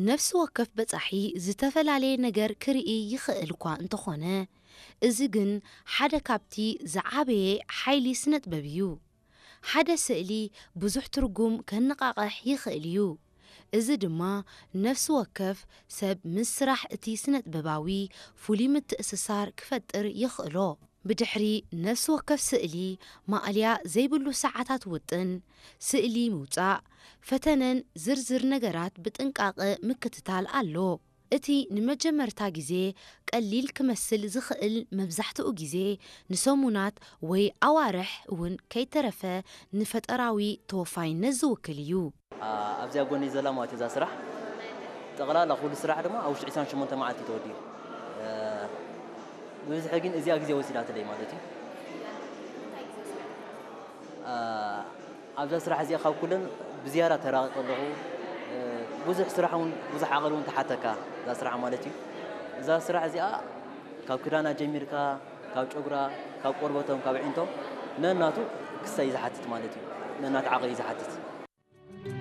ነፍሲ ወከፍ በጻሒ ዝተፈላለየ ነገር ክርኢ ይኽእል እኳ እንተኾነ፣ እዚ ግን ሓደ ካብቲ ዝዓበየ ሓይሊ ስነጥበብ እዩ። ሓደ ስእሊ ብዙሕ ትርጉም ከነቓቕሕ ይኽእል እዩ። እዚ ድማ ነፍሲ ወከፍ ሰብ ምስ ስራሕ እቲ ስነጥበባዊ ፍሉይ ምትእስሳር ክፈጥር የኽእሎ። ብድሕሪ ነፍሲ ወከፍ ስእሊ ማእልያ ዘይብሉ ሰዓታት ውጥን፣ ስእሊ ምውጻእ፣ ፈተነን ዝርዝር ነገራት ብጥንቃቐ ምክትታል ኣሎ። እቲ ንመጀመርታ ግዜ ቀሊል ክመስል ዝኽእል መብዛሕትኡ ግዜ ንሰሙናት ወይ ኣዋርሕ እውን ከይተረፈ ንፈጠራዊ ተወፋይነት ዝውክል እዩ። ኣብዚኣ ጎኒ ዘላ ማለት እዛ ስራሕ ጠቕላላ ኩሉ ስራሕ ድማ ኣብ ውሽጢ ዕስራን ሸሞንተ መዓልቲ ተወዲኡ። ብብዝሒ ግን እዚኣ ግዜ ወሲዳትለይ ማለት እዩ። ኣብዛ ስራሕ እዚኣ ካብ ኩለን ብዝያዳ ተራቒቐ ኣለኹ። ብዙሕ ስራሕ እውን ብዙሕ ዓቕሊ እውን ተሓተካ እዛ ስራሕ ማለት እዩ። እዛ ስራሕ እዚኣ ካብ ክዳና ጀሚርካ ካብ ጨጉራ ካብ ቆርበቶም ካብ ዒንቶም ነናቱ ክሳይ ዝሓትት ማለት እዩ። ነናቱ ዓቕሊ ዝሓትት።